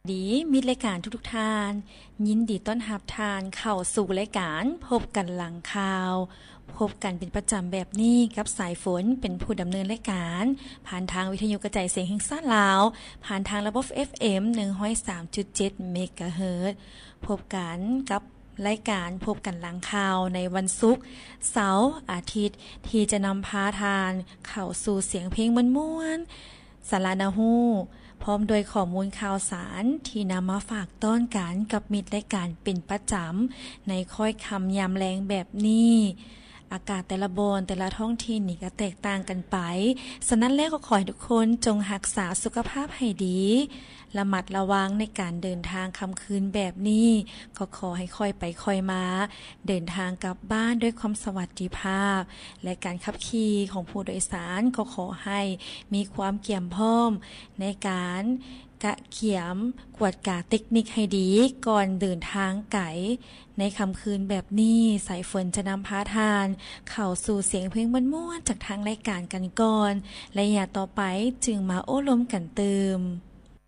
ດີ ມິດລາຍການທຸກໆທ່ານ, ຍິນດີຕ້ອນຮັບທ່ານເຂົ້າສູ່ລາຍການພົບກັນຫຼັງຂ່າວ. ພົບກັນເປັນປະຈຳແບບນີ້ກັບສາຍຝົນເປັນຜູ້ດຳເນີນລາຍການ ຜ່ານທາງວິທະຍຸກະຈາຍສຽງແຫ່ງຊາດລາວ ຜ່ານທາງລະບົບ ເອັຟເອັມ ໜຶ່ງຮ້ອຍສາມຈຸດເຈັດ ເມກາເຮີດ. ພົບກັນກັບລາຍການພົບກັນຫຼັງຂ່າວໃນວັນສຸກ, ເສົາ, ອາທິດ ທີ່ຈະນຳພາທ່ານເຂົ້າສູ່ສຽງເພງມ່ວນໆ, ສາລະໜ້າຮູ້ ພ້ອມດ້ວຍຂໍ້ມູນຂ່າວສານທີ່ນຳມາຝາກຕ້ອນກັນກັບມິດລາຍການເປັນປະຈຳໃນຄ້ອຍຄ່ຳຍາມແລງແບບນີ້. ອາກາດແຕ່ລະບ່ອນ ແຕ່ລະທ້ອງຖິ່ນນີ້ກໍແຕກຕ່າງກັນໄປ, ສະນັ້ນແລ້ວກໍຂໍໃຫ້ທຸກຄົນຈົ່ງຮັກສາສຸຂະພາບໃຫ້ດີ, ລະມັດລະວັງໃນການເດີນທາງຄ່ຳຄືນແບບນີ້, ກໍຂໍໃຫ້ຄ່ອຍໄປຄ່ອຍມາ, ເດີນທາງກັບບ້ານດ້ວຍຄວາມສະຫວັດດີພາບ ແລະ ການຂັບຂີ່ຂອງຜູ້ໂດຍສານກໍຂໍໃຫ້ມີຄວາມກຽມພ້ອມໃນການກະກຽມກວດກາເຕັກນິກໃຫ້ດີກ່ອນເດີນທາງໄກ. ໃນຄ່ຳຄືນແບບນີ້, ສາຍຝົນຈະນຳພາທ່ານເຂົ້າສູ່ສຽງເພງມ່ວນໆຈາກທາງລາຍການກັນກ່ອນ, ໄລຍະຕໍ່ໄປຈຶ່ງມາໂອ້ລົມກັນຕື່ມ.